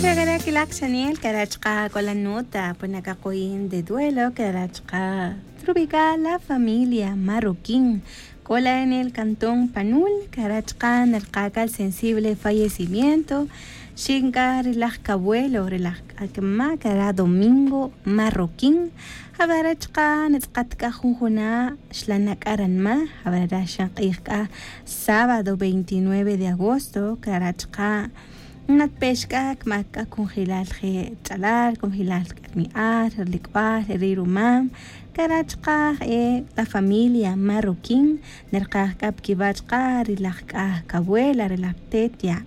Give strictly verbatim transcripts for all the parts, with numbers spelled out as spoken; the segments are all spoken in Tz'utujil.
Cara' quilak xanel cara' chka' cola nota puna cacoyin de duelo cara' chka' trubica la familia marroquín. Cola en el cantón panul cara' chka' nerkaca el sensible fallecimiento. Xinca rilaj cabuelo rilaj c'acma cara' domingo marroquín. Javara chka' netz'kat c'a junjuna' xlana' c'a ranma. Javara xan k'ij c'a sábado veintinueve de agosto cara' chka' natpex c'a cmac c'a cunjelal je' ch'alal cunjelal c'a rmi'al ri lic'bal ri rumam. Cara' chka' je' la familia marroquín nerkaj c'a pa quiwa' chka' ri laj c'a cabuela ri laj tetia.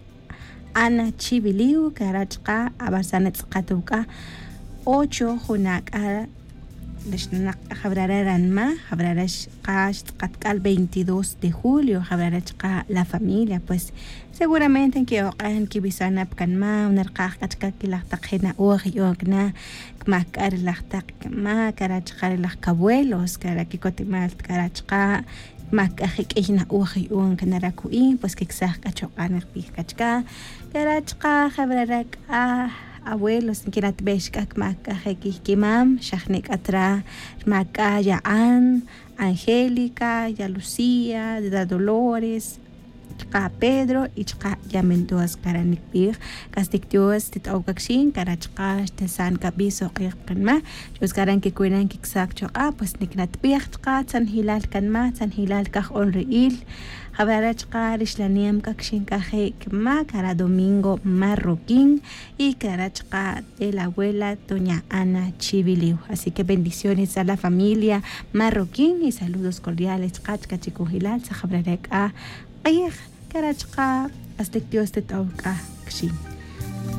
Ana chiviliw cara' chka' avarsa' netz'kat wuc'a ocho juna' c'a ri xnanak' c'a javrara' ranma javrara' xka xtz'akat c'a veintidós de julio javrara' chka' la familia pues seguramente nqui'ok'an quiwisa' na pa canma nerkaj c'a chka' quilaj tak je' na'oj yu'on cana cmac c'a ri laj tak cama cara' chka' ri laj cabuelos cara' quicotimal cara' chka' cmac c'a je' q'uiy na'oj yu'on cana ra cu'i pues quicsaj c'a chok'a' nikbij c'a chka' cara' chka' javrara' c'a abuelos nquiratbex c'a cmac c'a je' quij quimam xajne' c'a tra rmac c'a ya'an angélica ya lucía ya dolores chka' pedro y chka' ya mendoza cara' nikbij. C'astic dios tit'ow c'a quixin cara' chka' xtesan c'a bi sok'ij pa canma. Dios cara' nquicuinan quicsac chok'a' pues niquinatbij chka' tzanjilal canma tzanjilal caj'on ri'il. Javrara' chka' ri xlanem c'a quixin c'a je' cama cara' domingo marroquín y cara' chka' de la abuela doña ana chiviliw. Así que bendiciones a la familia marroquín y saludos cordiales chka' chka' chicunjelal tzajabra re c'a k'ij cara' chka' hasta dios tet'ow c'a quixin.